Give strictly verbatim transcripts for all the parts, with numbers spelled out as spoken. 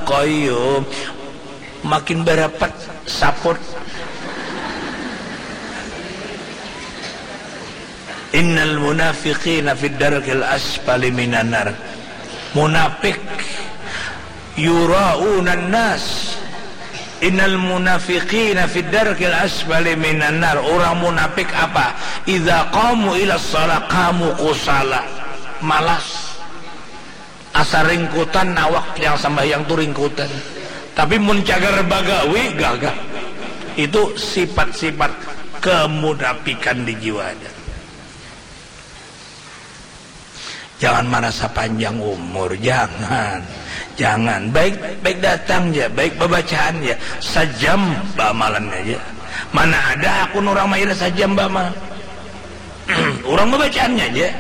qayyum. Makin barapat saput. Innal munafiqina fid darkil asfali minan nar. Munafik yuraunan nas. Innal munafiqina fid darkil asfali minan nar. Orang munafik apa? Idza qamu ila shalah qamu kusala. Malas. Asa ringkutan awak yang sambahyang tu ringkutan. Tapi mun cagar bagawi gagah. Itu sifat-sifat kemunafikan di jiwa ada. Jangan marasa panjang umur, jangan. Jangan. Baik baik datang ja, baik babacaan ja. Sajam baamalannya ja. Mana ada hakun urang mairis sajam baamal. Urang babacaannya ja.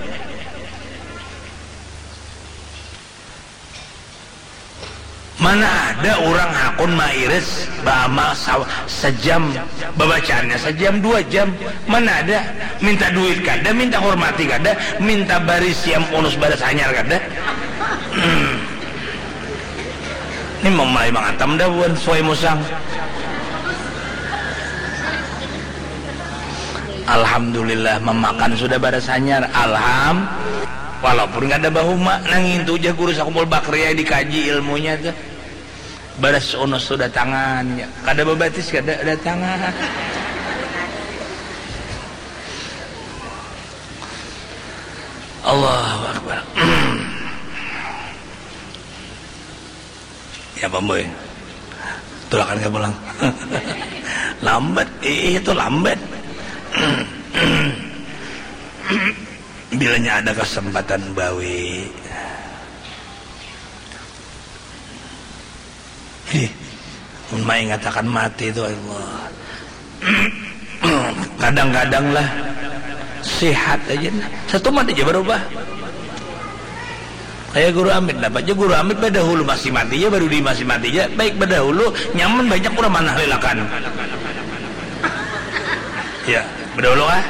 Mana ada urang hakun mairis baamal sa-, sajam, babacaannya sajam, dua jam. Mana ada? Minta duit kada, minta hormati kada, minta bari siam unus baras hanyar kada. Hmm. Ini mamulai mangatam dah buhan suai musang. Alhamdulillah mamakan sudah baras hanyar. Alham-, walaupun kada bahuma, nang ngintu ja guru sakumpul bakria dikaji ilmunya tuh. Baras unus tu datangan, ya. Kada babatis, kada datangan. Allahu Akbar. Ya, Bamboy. Tulakan ka pulang. Lambat, ih, itu lambat. Bilanya ada kesempatan bawi. Ih, mun maingatakan mati tu, Allah. Kadang-kadang lah, sihat aja nah. Satumat aja barubah. Kaya Guru Amit, dapat ja Guru Amit badahulu masih mati ja, badudi masih mati ja. Baik badahulu, nyaman banyak urang manahlilakan. Ya, badahulu kah?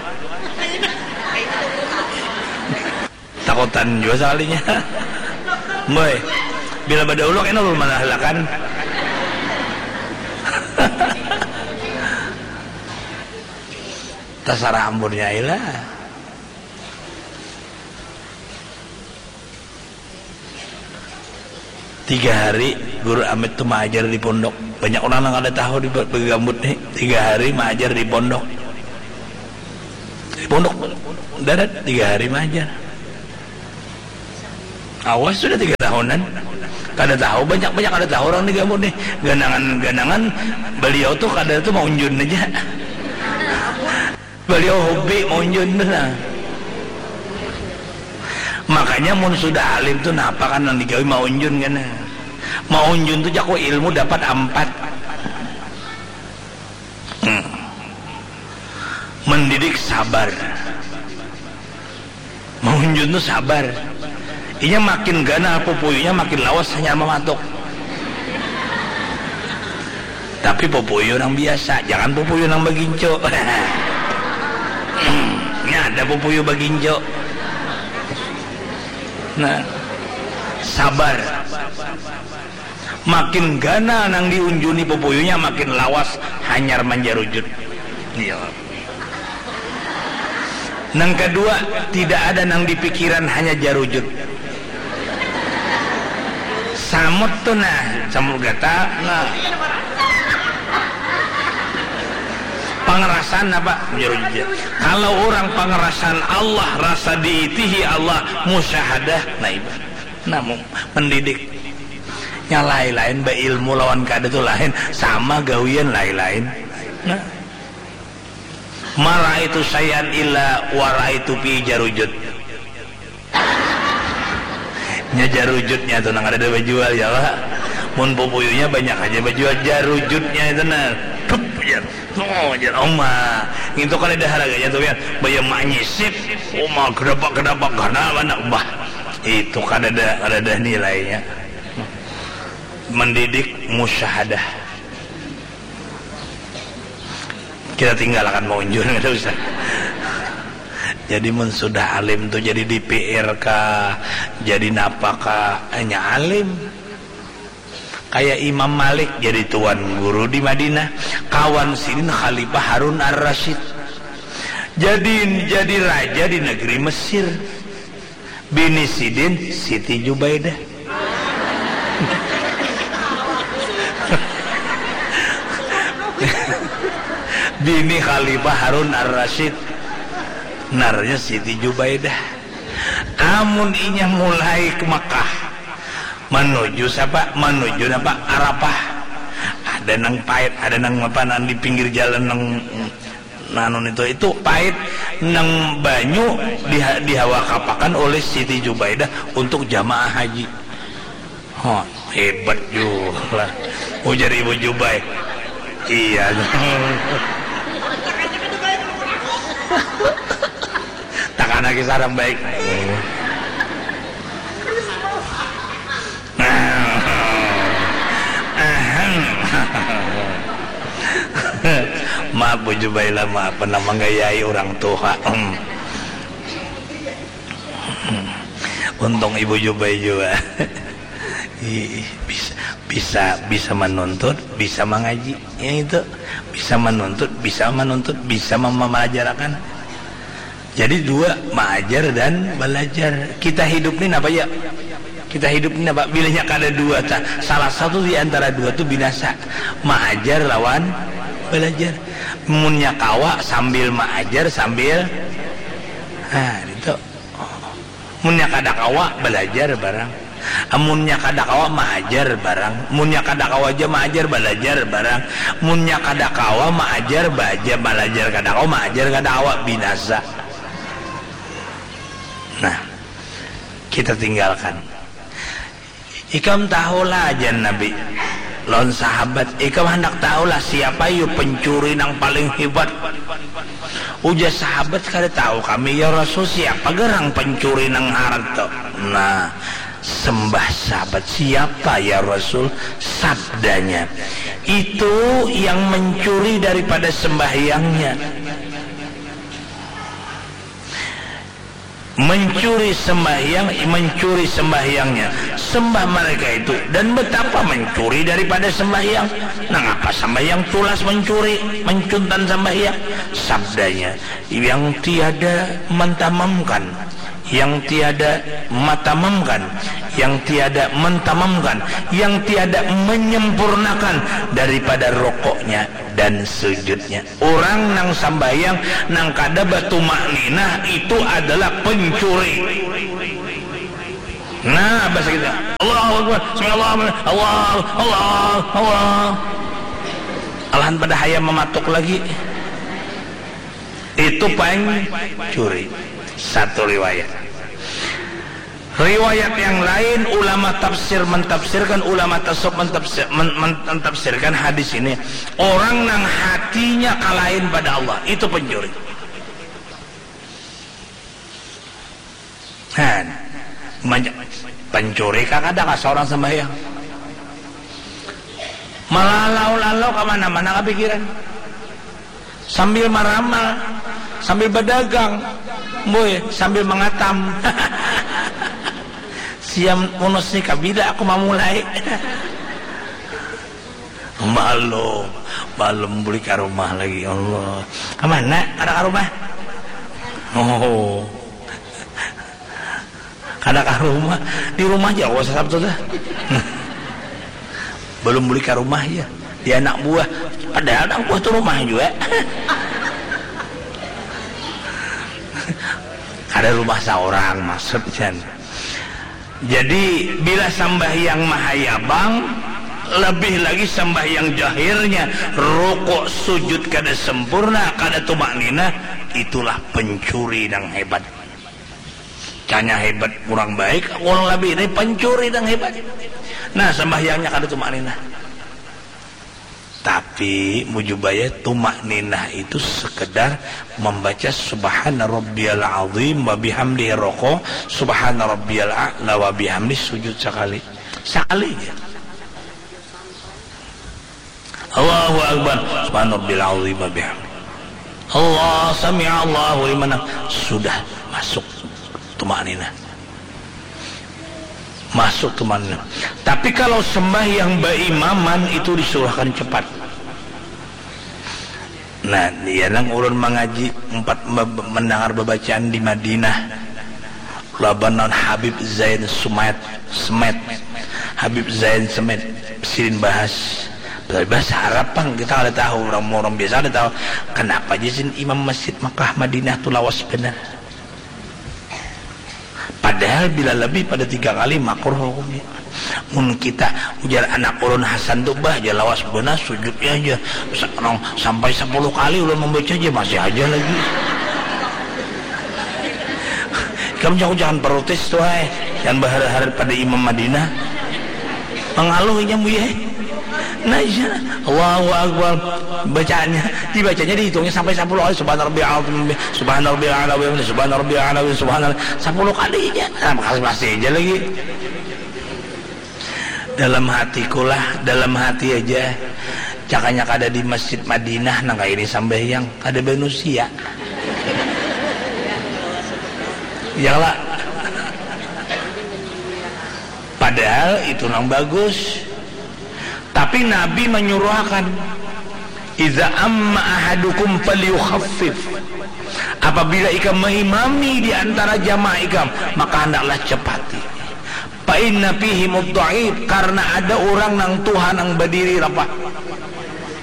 Takutan jua sakalinya. Boy, bila badahulu kena ulun manahalakan. Tasarah ampun nyai lah. Tiga hari Guru Amit tu maajar di pondok. Banyak urang nang kada tahu di ba-, bagambut ni. Tiga hari maajar di pondok. Di pondok darat tiga hari maajar. Awas sudah tiga tahunan. Kada tahu, banyak-banyak kada tahu urang di gambut ni. Ganangan-ganangan baliau tu kada tu maunjun aja. Baliau hobi maunjun tu nah. Makanya mun sudah alim tu napa kan nang digawi maunjun kan. Maunjun tu jaku ilmu dapat ampat. Hmm. Mendidik sabar. Maunjun tu sabar. Inya makin ganal pupuyunya makin lawas hanyar mamatuk. Tapi pupuyu nang biasa, jangan pupuyu nang bagincu. Nya ada pupuyu bagincu. Nah, sabar. Makin ganal nang diunjuni pupuyunya, makin lawas hanyar manjarujut. Iya. Nang kadua, tidak ada nang dipikiran, hanya jarujut. Samut tu nah, samut gata, nah. Pangarasan apa? Jarujut. Kalau urang pangarasan Allah, rasa diitihi Allah, musyahadah, nah itu. Nah, mu-, mendidik. Nya lain-lain, bailmu lawan kada tu lain, sama gawian lain-lain. Nah. Ma ra'aitu syai'an illa wa ra'aitu fi jarujut. Nya jarujutnya tu nang kadada bajual, ya, Pak. Mun pupuyunya banyak aja bajual, jarujutnya itu nah. Dup, jar. Oh, jar. Oma. Ngintu kadada harganya tu, ya. Baya manyisip. Oma, gedapak-gedapak, ganal banar, bah. Itu kadada, kadada nilainya. Mendidik musyahadah. Kita tinggalkan maunjun, kada usah. Jadi mun sudah alim tu jadi D P R kah, jadi napa kah, hanya alim. Kaya Imam Malik jadi tuan guru di Madinah, kawan sidin Khalifah Harun Ar-Rasyid. Jadi, jadi raja di negeri Mesir. Bini sidin Siti Jubaidah. Bini Khalifah Harun Ar-Rasyid. Ngarannya Siti Jubaidah. Amun inya mulai ke Mekah, manuju sapa? Manuju napa? Arafah. Ada nang pait, ada nang apa, nang di pinggir jalan nang, nang anu itu, itu pait, nang banyu diha-, dihawakapakan oleh Siti Jubaidah untuk jamaah haji. Hah, hebat jua lah. Ujar Ibu Jubai. Iya. Takana kisah orang baik. Maaf, Bu Jubai lah, maaf, pernah manggayai orang tuha. Untung Ibu Jubai jua. Ih, bisa, bisa, bisa manuntut, bisa mangaji. Ya itu, bisa manuntut, bisa manuntut, bisa mem-, malajarakan. Jadi dua, maajar dan balajar. Kita hidup ni napa ya? Kita hidup ni napa? Bilanya kada dua, ta-, salah satu di antara dua tu binasa. Maajar lawan balajar. Munnya kawa sambil maajar, sambil, nah, itu. Munnya kada kawa, balajar barang. Amunnya kada kawa, maajar barang. Munnya kada kawa ja maajar, balajar barang. Munnya kada kawa maajar, baja, balajar kada kawa, maajar kada kawa, binasa. Nah, kita tinggalkan. Ikam tahulah, jar Nabi lawan sahabat, ikam handak tahulah siapa yu pencuri nang paling hebat? Ujar sahabat, kada tahu kami, ya Rasul, siapa garang pencuri nang harat tu? Nah, sembah sahabat, siapa ya Rasul? Sabdanya, itu yang mencuri daripada sembahyangnya. Mencuri sembahyang, mencuri sembahyangnya. Sembah mereka itu, dan betapa mencuri daripada sembahyang. Nangapa sembahyang tulas mencuri, mencuntan sembahyang? Sabdanya, yang tiada mentamamkan, yang tiada matamamkan, yang tiada mentamamkan, yang tiada menyempurnakan daripada rokoknya dan sujudnya. Orang nang sambahyang nang kada batumakninah itu adalah pencuri. Nah, bahasa kita, Allahu Akbar, sami Allahu liman, Allah, Allah, Allah. Alahan pada hayam mamatuk lagi. Itu pencuri. Satu riwayat. Riwayat yang lain, ulama tafsir mentafsirkan, ulama tasawuf mentafsir, men-, men-, mentafsirkan hadis ini. Orang nang hatinya kalain pada Allah, itu pencuri. Nah, manja-, pencuri kah kada kah seorang sembahyang? Malalau-lalau ka mana-mana kapikiran. Sambil maramal, sambil badagang, boy, sambil mangatam. Siam unus ni, kabila aku mamulai. Malum, malum buli ka rumah lagi, Allah. Ka mana? Kada ka rumah? Oh. Kada ka rumah, di rumah ja aku puasa Sabtu tuh. Belum buli ka rumah ya, di anak buah. Padahal anak buah tuh rumah juga. Kada rumah seorang maksudnya. Jadi bila sambahyang mahayabang, lebih lagi sambahyang jahirnya, rukuk sujud kada sempurna, kada tumakninah, itulah pencuri yang hebat. Canya hebat, kurang baik, kurang lebih ini pencuri nang hebat. Nah, sambahyangnya kada tumakninah. Tapi mujubaya, tumakninah itu sekedar membaca subhana rabbiyal azim wa bihamdihi roko, subhana rabbiyal a'la wa bihamdi sujud sekali. Sekali ya. Allahu Akbar. Subhana Rabbil Azim wa bihamdi. Allah sami Allahu liman ham-, sudah masuk tumakninah. Masuk tu mana. Tapi kalau sembahyang baimaman itu disuruhkan cepat. Nah, ya nang ulun mangaji empat mendengar bebacaan di Madinah laban non Habib Zain Sumet Semet Habib Zain Semet sidin bahas bahasa Arab pang kita ada tahu orang orang biasa ada tahu kenapa aja sin imam masjid Makkah Madinah tu lawas benar. Padahal bila lebih pada tiga kali makruh hukumnya. Mun kita ujar anak ulun Hasan tu bah aja lawas benar sujudnya aja. Sa- nang sampai sepuluh kali ulun membaca aja masih aja lagi. Kamu jangan jangan protes tuh ay. Jangan berharap pada Imam Madinah. Mengaluh inya buya. Nah, iya. Allahu Akbar. Bacaannya, dibacanya dihitungnya sampai sepuluh kali subhana rabbil azim, subhana rabbil ala, subhana rabbil ala, subhana sepuluh kali aja. Nah, masih masih aja lagi. Dalam hatiku lah, dalam hati aja. Cakanya kada di Masjid Madinah nang kayak ini sambahyang, kada manusia. Iyalah. Padahal itu nang bagus. Tapi Nabi menyuruhkan, "Iza amma ahadukum falyukhaffif." Apabila ikam mengimami di antara jamaah ikam, maka hendaklah cepati. Fa inna fihi mudhaif, karena ada orang nang tuha nang berdiri rapat.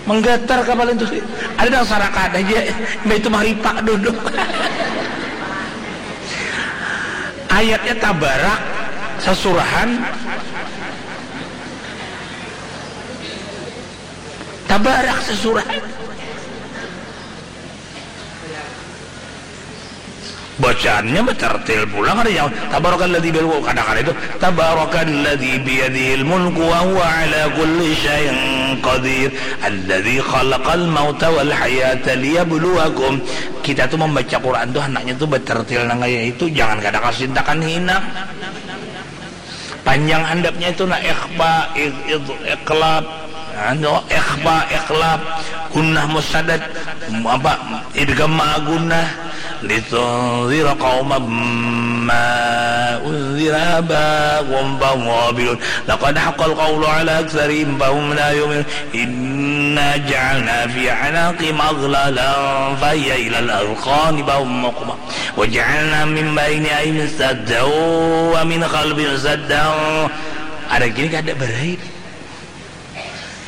Menggatar kapal itu. Ada nang sarakan aja, mbak itu maripak duduk. Ayatnya tabarak sesurahan Tabarak sesurat. Bacaannya betertil pulang ada yang tabarakalladzi bil kada kada itu tabarakalladzi biyadihil mulku wa huwa ala kulli syai'in qadir alladzi khalaqal mauta wal hayata liyabluwakum. Kita tuh membaca Quran tuh hendaknya tuh betertil nang kayak itu jangan kada kasintakan hinang. Panjang handapnya itu nah ikhfa, id, id, iqlab, anu, ikhfa, iqlab, gunnah musadad, apa, idgham ma'a gunnah, litunzira qauman ma unzira aba'uhum fahum ghafilun. Laqad haqqal qawlu ala aktsarihim fahum la yu'minun. Inna ja'alna fi a'naqihim aghlalan fahiya ilal azqani fahum muqma. Wa ja'alna min baini aydihim saddan wa min khalfihim saddan. Ada gini kada berait.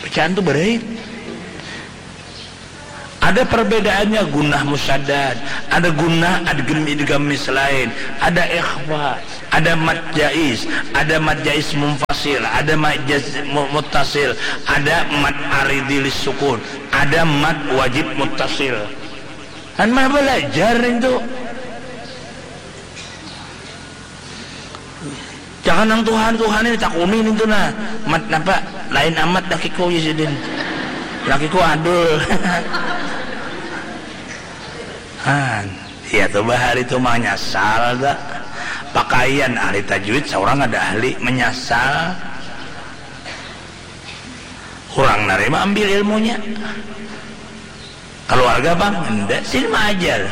Bacaan tu berait. Ada perbedaannya gunnah musaddad, ada gunnah adgem idgham mislain, ada ikhfa, ada mad jaiz, ada mad jaiz munfasil, ada mad jaiz mu- muttasil, ada mad aridi lis sukun, ada mad wajib muttasil. Kan mah belajar itu. Jangan nang Tuhan Tuhan ini takuni nintu nah. Mat napa? Lain amat lakiku ya sidin. Lakiku adul. Han, iya tuh bahari tuh manyasal dah. Pakaian ahli tajwid seorang ada ahli menyasal. Orang nerima ambil ilmunya. Keluarga bang, ndak sini maajar.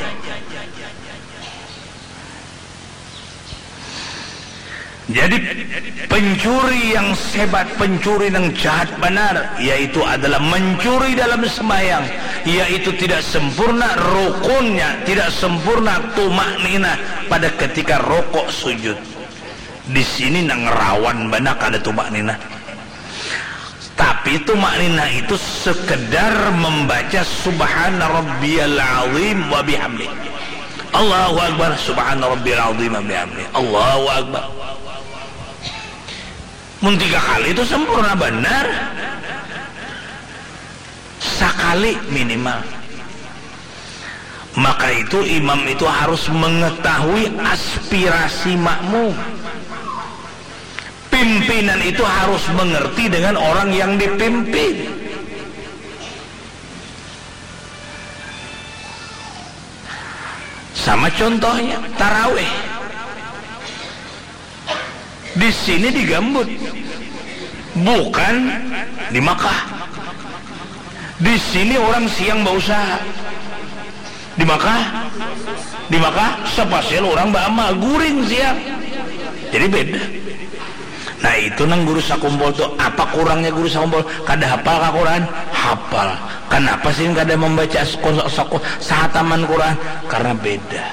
Jadi pencuri yang sebat, pencuri yang jahat benar, yaitu adalah mencuri dalam sembahyang, yaitu tidak sempurna rukunnya, tidak sempurna tumak ninah pada ketika rokok sujud. Di sini nang rawan benar kada tumak ninah. Tapi tumakninah itu sekedar membaca subhana rabbiyal azim wa bihamdi. Allahu akbar subhana rabbiyal azim wa bihamdi. Allahu akbar. Mun tiga kali itu sempurna benar. Sakali minimal. Maka itu imam itu harus mengetahui aspirasi makmum. Pimpinan itu harus mengerti dengan orang yang dipimpin. Sama contohnya taraweh. Di sini digambut, bukan di Makkah. Di sini orang siang berusaha. Di Makkah, di Makkah spasial orang baamal guring siang. Jadi beda. Nah, itu nang guru sakumpul tu. Apa kurangnya guru sakumpul? Kada hapal ka Quran? Hapal. Kanapa sih kada mambaca seko-, seko-, sahataman Quran? Karena beda.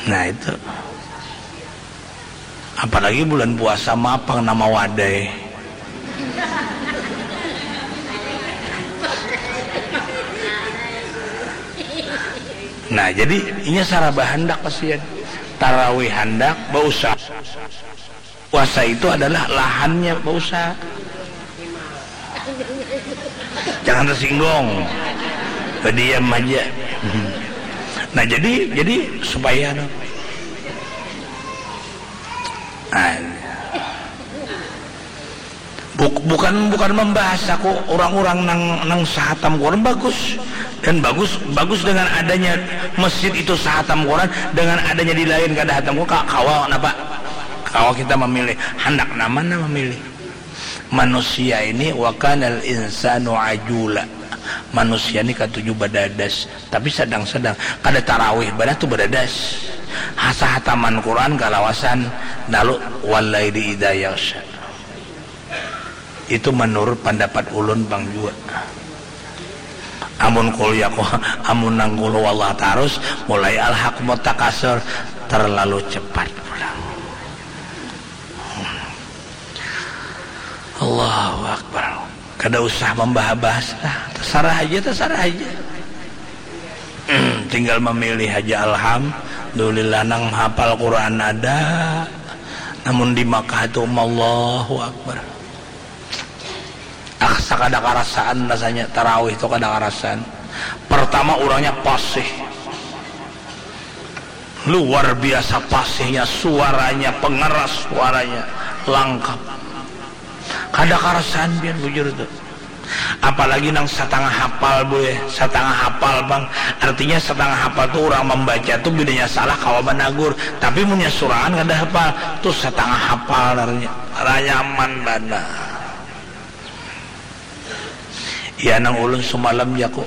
Nah, itu. Apalagi bulan puasa, mapang nama wadai. Nah, jadi inya saraba handak kasian. Tarawih handak, bausaha. Puasa itu adalah lahannya bausaha. Jangan tersinggung. Berdiam aja. Nah, jadi, jadi supaya anu. Nah, buk-, bukan, bukan membahas aku orang-orang nang, nang sahatam Quran bagus. Dan bagus, bagus dengan adanya masjid itu sahatam Quran, dengan adanya di lain kada hatam Quran, ka-, kawa napa? Kawa kita memilih. Handak nang mana memilih? Manusia ini, wa kanal insanu ajula. Manusia ni katuju badadas, tapi sadang-sadang. Kada tarawih banar tu badadas. Hasa hataman Quran kalawasan, lalu walaili idza yaghsya. Itu menurut pendapat ulun pang jua. Amun kuliah ku, amun nang qul huwallah tarus, mulai alhaakumut takasur, terlalu cepat pulang. Allahu Akbar. Kada usah membahas-bahas lah. Terserah aja, terserah aja. Tinggal memilih aja. Alhamdulillah, nang hafal Quran ada. Namun di Makkah tu, Allahu Akbar. Asa kada karasaan rasanya, tarawih tu kada karasaan. Pertama, urangnya pasih. Luar biasa pasihnya, suaranya, pengeras suaranya, langkap. Kada karasaan pian bujur tu. Apalagi nang satangah hafal, buy. Satangah hafal pang. Artinya satangah hafal tu urang mambaca tu bedanya salah kawa managur. Tapi munnya surangan kada hafal, tu satangah hafal ngarannya. Nyaman banar. Ya, nang ulun sumalam jaku,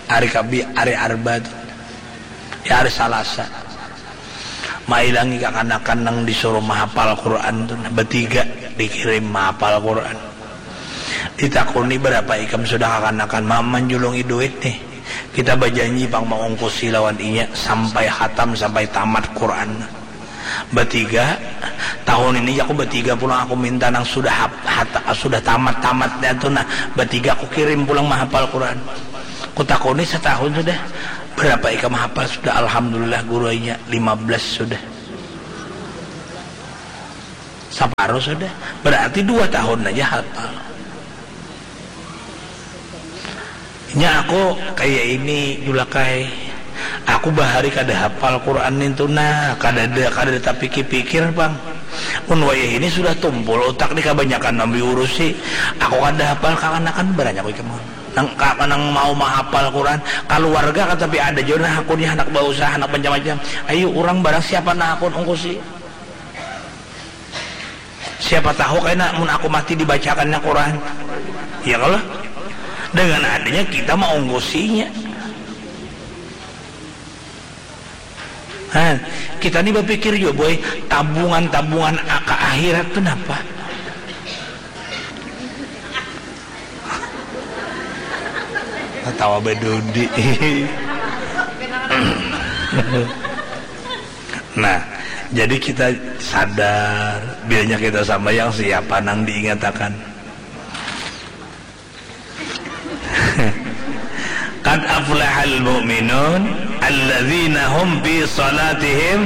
hari Kabi-, hari Arba tu. Ya, hari Salasa. Mailangi kakanakan nang disuruh mahapal Quran tu, nah, batiga dikirim mahapal Quran. Ditakuni, "Barapa ikam sudah kakanakan?" Ma-, manjulungi duit nih. Kita bajanji pang maungkusi lawan inya sampai khatam, sampai tamat Quran. Batiga, tahun ini aku batiga pulang, aku minta nang sudah hap-, hata-, sudah tamat-tamatnya tu, nah, batiga aku kirim pulang mahapal Quran. Kutakuni satahun sudah, "Berapa ikam hafal sudah?" "Alhamdulillah, guru, inya lima belas sudah." Saparuh sudah. Berarti dua tahun aja hafal. Nya aku kaya ini, Julakai. Aku bahari kada hafal Quran nintu nah, kadada, kadada tapikir-pikir pang. Mun wayah ini sudah tumpul utak ni, kabanyakan nang diurusi. Aku kada hafal, kakanakan baranya aku ikam. Nang, ka-, nang mau mahafal Quran, kaluarga kan tapi ada jua nah hakunnya, handak bausaha, handak macam-macam. Ayu urang barang siapa nah hakun ungkusi. Siapa tahu kena mun aku mati dibacakannya Quran. Ya kalau dengan adanya kita maungkusinya. Nah, kita ni berpikir juga, boy, tabungan-tabungan aka akhirat tu napa? Ketawa bedudi. Nah, jadi kita sadar, bilanya kita sambayang, siapa nang diingatakan? Qad aflahal mu'minun alladzina hum fi salatihim.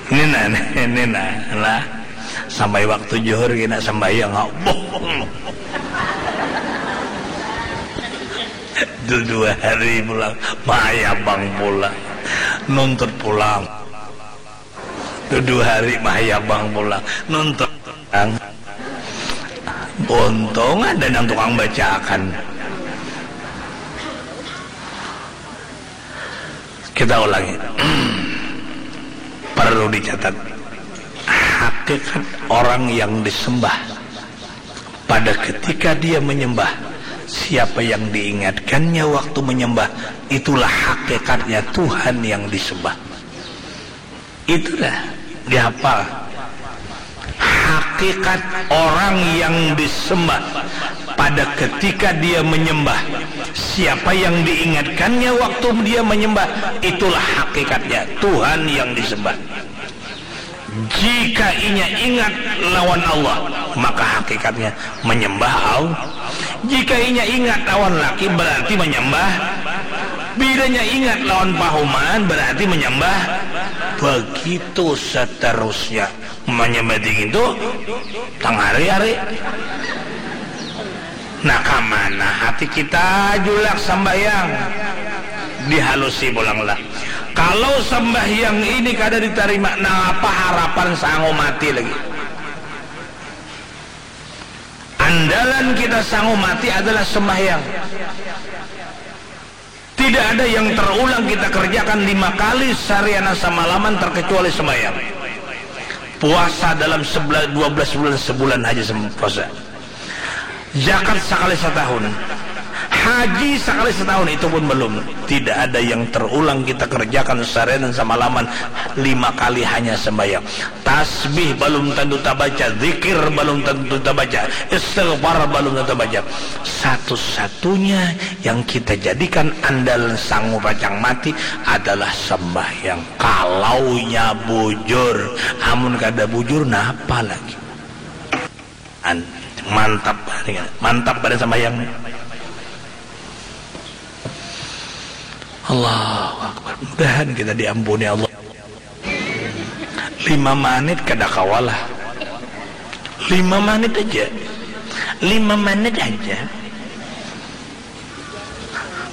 Nina, nina, lah. Sampai waktu juhur kena sambayang, boh. Dudu hari pulang, mayabang pulang, nuntut pulang. Dudu hari mayabang pulang, nuntut pulang. Untung ada nang tukang bacaakan. Kita ulangi. Perlu dicatat. Hakikat orang yang disembah pada ketika dia menyembah, siapa yang diingatkannya waktu menyembah, itulah hakikatnya Tuhan yang disembah. Itulah dihafal. hakikat orang yang disembah pada ketika dia menyembah. Siapa yang diingatkannya waktu dia menyembah, itulah hakikatnya Tuhan yang disembah. Jika inya ingat lawan Allah, maka hakikatnya menyembah Allah. Jika inya ingat lawan laki, berarti menyembah. Bilanya ingat lawan pahuman, berarti menyembah. Begitu seterusnya. Menyembah dingin tu tangari-ari. Nah, kamana hati kita julak sambahyang? Dihalusi pulang lah. Kalau sambahyang ini kada ditarima, napa harapan sangu mati lagi? Andalan kita sangu mati adalah sembahyang. Tidak ada yang terulang kita kerjakan lima kali seharian samalaman terkecuali sembahyang. Puasa dalam sebelas, dua belas bulan, sebulan haja sem-, puasa. Zakat sakali satahun. Haji sakali satahun, itu pun belum. Tidak ada yang terulang kita kerjakan seharian samalaman lima kali hanya sembahyang. Tasbih balum tantu tabaca, zikir balum tantu tabaca, istighfar balum tantu tabaca. Satu-satunya yang kita jadikan andalan sangu pacang mati adalah sembahyang. Kalaunya bujur, amun kada bujur, napa lagi? An-, mantap, mantap badan sembahyang. Allahu Akbar. Mudahan kita diampuni Allah. Lima menit kada kawa lah. Lima menit aja. Lima menit aja.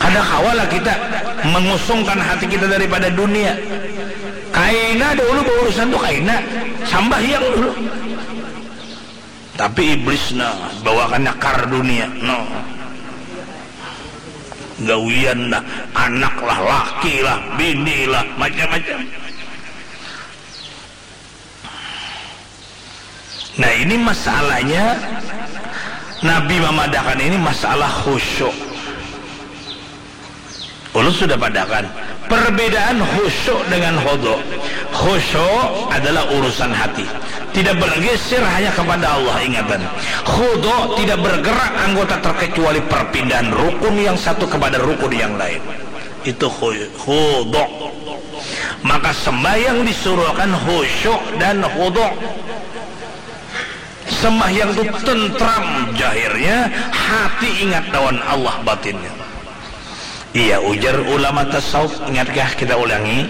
Kada kawa lah kita mengusungkan hati kita daripada dunia. Kaina dahulu baurusan tu, kaina. Sambahyang dulu. Tapi iblis, nah, bawakannya kar dunia, no. Gawian dah, anak lah, laki lah, bini lah, macam-macam. Nah, ini masalahnya, Nabi mamadahakan ini masalah khusyuk. Ulun sudah padahakan perbedaan khusyuk dengan khudu. Khusyuk adalah urusan hati, tidak bergeser, hanya kepada Allah ingatan. Khudu tidak bergerak anggota terkecuali perpindahan rukun yang satu kepada rukun yang lain. Itu khu-, khudu. Maka sembahyang disuruhkan khusyuk dan khudu. Sembahyang tu tentram zahirnya, hati ingat lawan Allah batinnya. Iya, ujar ulama tasawuf, ingatkah, kita ulangi,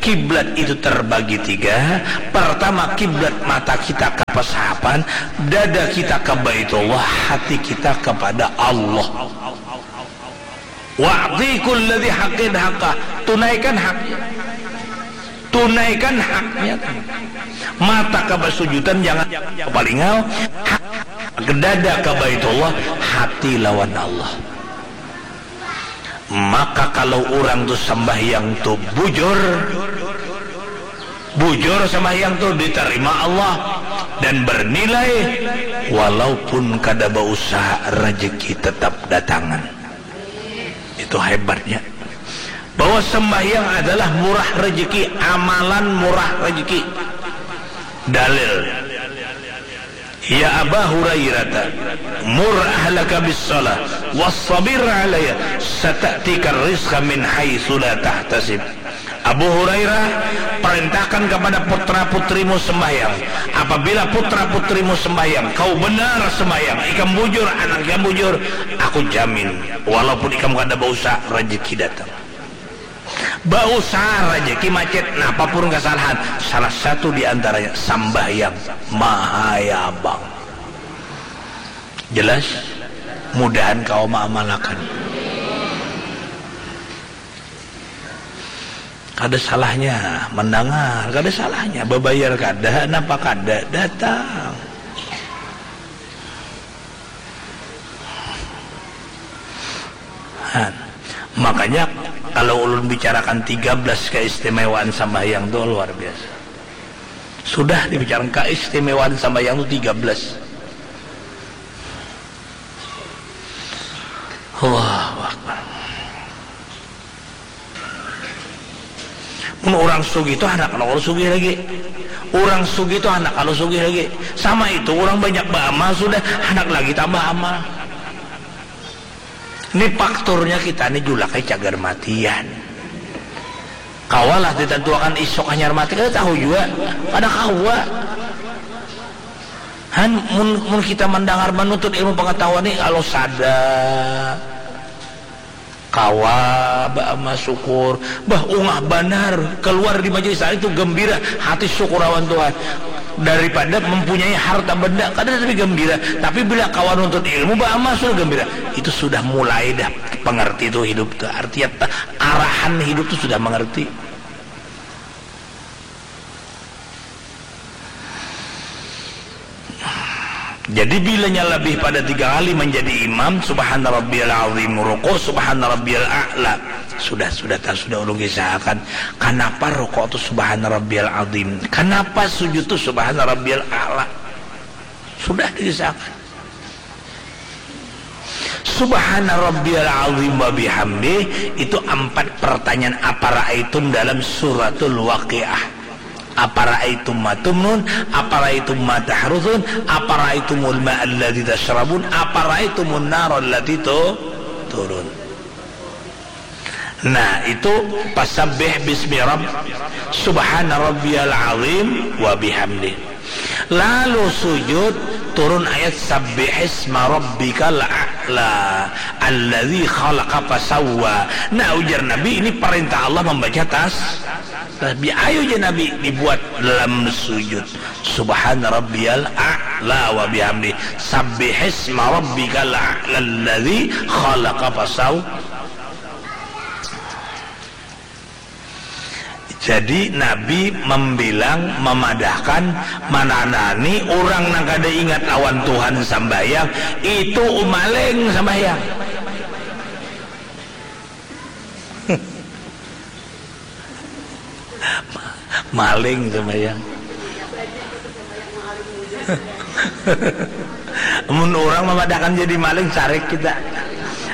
kiblat itu terbagi tiga. Pertama, kiblat mata kita ka pasahapan, dada kita ka Baitullah, hati kita kepada Allah. Wa'ti kulladzi haqqin haqqah. Tunaikan haknya. Tunaikan haknya. Mata ka basujudan, jangan palingau. Hak, dada ka Baitullah, hati lawan Allah. Maka kalau urang tu sambahyang tu bujur, bujur sambahyang tu ditarima Allah dan bernilai, walaupun kada bausaha, rejeki tetap datangan. Itu hebatnya. Bahwa sembahyang adalah murah rezeki, amalan murah rezeki. Dalil. Ya Aba Hurairah, mur ahlaka bis salah, wasabir alaiha, sata'tika rizqa min haitsu la tahtasib. Abu Hurairah, perintahkan kepada putra-putrimu sembahyang. Apabila putra-putrimu sembahyang, kau benar sembahyang, ikam bujur, anak ikam bujur, aku jamin, walaupun ikam kada bausaha, rezeki datang. Bausaha rezeki macet, napapun kesalahan, salah satu di antaranya sambahyang mahayabang. Jelas? Mudahan kawa maamalakan. Kada salahnya mandangar, kada salahnya babayar, kada napa kada datang. Han. Makanya kalau ulun bicarakan tiga belas keistimewaan sambahyang tu luar biasa. Sudah dibicarakan keistimewaan sambahyang tu tiga belas. Allahu Akbar. Mun urang sugih tu handak nang urang sugih lagi. Urang sugih tu handak kalu sugih lagi. Sama itu, urang banyak baamal sudah, handak lagi tambah amal. Ni fakturnya kita ni julaknya cagar matian. Kawalah ditantuakan isuk hanyar mati, kada tahu jua. Kada kawa. Han, mun, mun kita mandangar manuntut ilmu pangatahuan ni, kalau sada, kawa baamal syukur, bah, ungah banar, kaluar di majelis taklim tu gambira, hati syukur awan Tuhan. Daripada mempunyai harta benda, kada tapi gambira. Tapi bila kawa nuntut ilmu, baamal sudah gambira. Itu sudah mulai dah pangarti tu hidup tu. Artinya ta-, arahan hidup tu sudah mangarti. Jadi bilanya labih pada tiga kali manjadi imam, subhana rabbiyal azim, ruku, subhana rabbiyal a'la. Sudah, sudah, ta-, sudah ulun kisahkan kanapa ruku tu subhana rabbiyal azim, kanapa sujud tu subhana rabbiyal a'la. Sudah dikisahkan. Subhana rabbiyal azim wa bihamdih, itu ampat pertanyaan afara'aitum dalam suratul Waqiah. Afara'aitum ma tumnun, afara'aitum ma tahrusun, afara'aitumul ma'alladzi tasyrabun, afara'aitumun narallati tu-, turun. Nah, itu fasabbih bismi rabb-, subhana rabbiyal azim wa bihamdih. Lalu sujud, turun ayat sabbihisma rabbikal a'la alladzi khalaqa fasawwa. Nah, ujar Nabi, ini perintah Allah membaca tas-, tasbih. Ayo ja Nabi dibuat dalam sujud. Subhana rabbiyal a'la wa bihamdi. Sabbihisma rabbikal a'la alladzi khalaqa fasaw. Jadi Nabi membilang, memadahkan, mananani orang nang kada ingat awan Tuhan sambahyang, itu maling sambahyang. Maling sambahyang. Mun urang mamadahakan jadi maling, carik kita.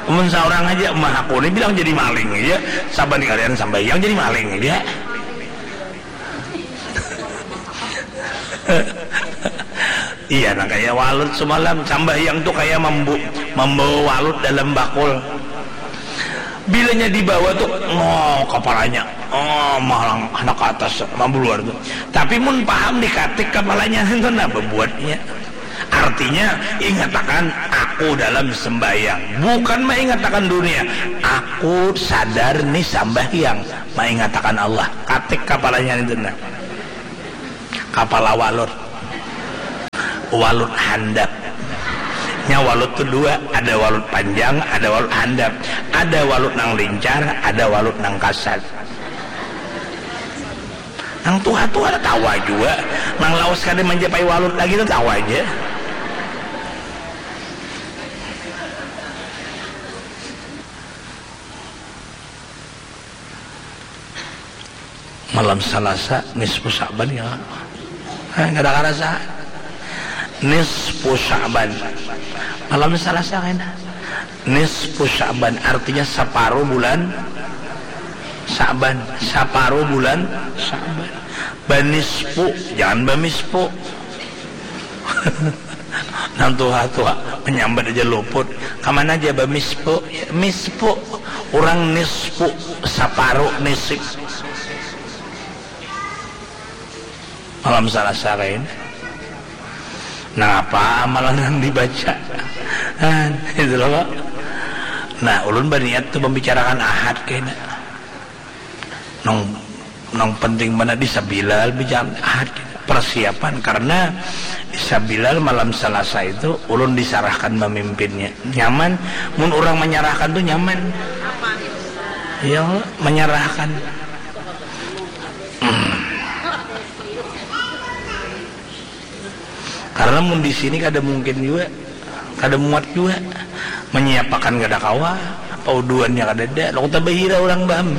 Mun saurang haja, mah aku ni bilang jadi maling haja. Saban kalian sambahyang jadi maling haja. Iya, nang kaya walut semalam, sambahyang tu kaya mambu-, mambawa walut dalam bakul. Bilanya dibawa tu, oh, kapalanya, oh, malang handak ka atas, mambuluar tu. Tapi mun paham dikatik kapalanya, tu nah babuatnya. Artinya, ingatakan aku dalam sembahyang. Bukan maingatakan dunia. Aku sadar ni sambahyang, maingatakan Allah. Katik kapalanya itu nah. Kapala walut. Walut handap. Nya walut tu dua, ada walut panjang, ada walut handap. Ada walut nang lincar, ada walut nang kasar. Nang tuha tu kada tawa jua. Nang lawas kada manjapai walut lagi tu tawa ja. Malam Salasa, nisfu Sa'ban ya. Eh, kada karasa. Nisfu Sa'ban. Malam Salasa kena. Nisfu Sa'ban artinya saparuh bulan Sa'ban, saparuh bulan Sa'ban. Banisfu, jangan bamisfu. Nang tuha-tuha manyambat aja luput. Kamana aja bamisfu? Ya, misfu. Urang nisfu, saparuh, nisif. Malam Salasa kaina. Nangapa amalan nang dibaca? Kan, itu loh, Pak. Nah, ulun baniat tu membicarakan Ahad kaina. Nang, nang penting mana di Sabilal bicara Ahad kaina. Persiapan, karena di Sabilal malam Salasa itu ulun disarahkan memimpinnya. Nyaman, mun orang menyerahkan tu nyaman. Ya, menyerahkan. Karena mun di sini kada mungkin jua, kada muat jua. Menyiapakan kada kawa, pauduannya kadada, lalu tabahira orang baham.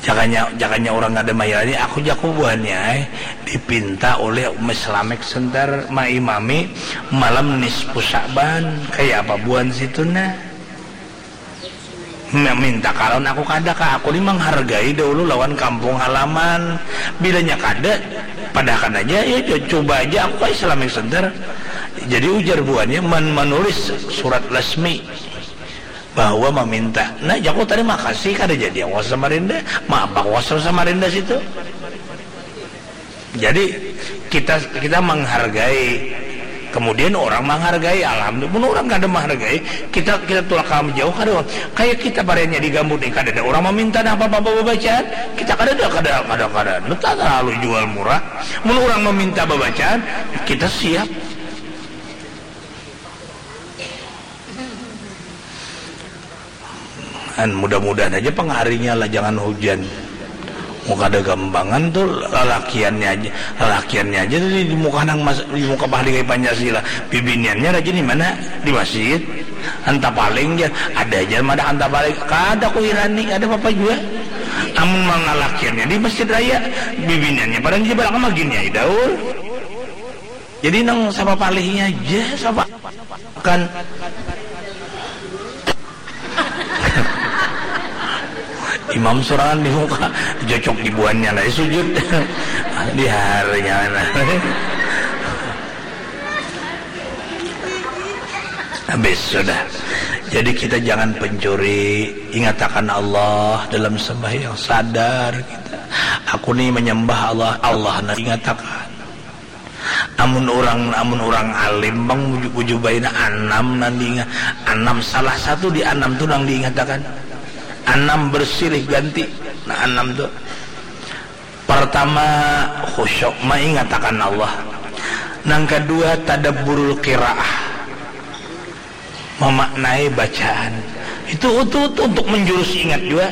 Jakanya, jakanya orang kada mahira ni, aku jaku buhannya ai, dipinta oleh Umi Slamek sentar maimami malam nisfu Sa'ban, kaya apa buhan situ nah. Meminta kalon aku kada kah, aku ni menghargai dahulu lawan kampung halaman. Bilanya kada, padahkan aja ya, co- coba aja aku ke Islamic Center. Jadi ujar buhannya men- menulis surat resmi bahwa meminta. Nah, jaku terima kasih kada jadi aku ke Samarinda. Maaf aku ke Samarinda situ. Jadi kita kita menghargai, kemudian orang menghargai, alhamdulillah. Mun orang kada menghargai, kita kita tulak kalam jauh kada. Kayak kita barenya di Gambut ni, kada ada orang meminta nah apa apa bacaan, kita kada ada kada kada kada kita terlalu jual murah. Mun orang meminta bacaan, kita siap. An, mudah-mudahan aja pang harinya lah, jangan hujan. Mau kada gampangan tuh lalakiannya aja, lalakiannya aja tuh di, di muka nang mas, di muka pahali kayak Pancasila. Bibiniannya rajin di mana? Di masjid. Anta paling aja, ada aja madah anta paling. Kada ku hirani, kada apa-apa juga. Amun mang lalakiannya di masjid raya, bibiniannya pada di belakang magini aja daur. Jadi nang sama palihnya aja sama kan. Imam sorangan di muka, jocok di buannya lah sujud. Di harinya mana. Habis sudah. Jadi kita jangan pencuri, ingatakan Allah dalam sembahyang, sadar kita. Aku ni menyembah Allah, Allah nah ingatakan. Amun urang amun urang alim pang buju buju baina anam nang diingat, anam salah satu di anam tu nang diingatakan, anam bersilih ganti. Nah, anam tu pertama khusyuk, maingatakan Allah. Nang kedua tadabburul qiraah, memaknai bacaan. Itu, itu, itu untuk menjurus ingat juga.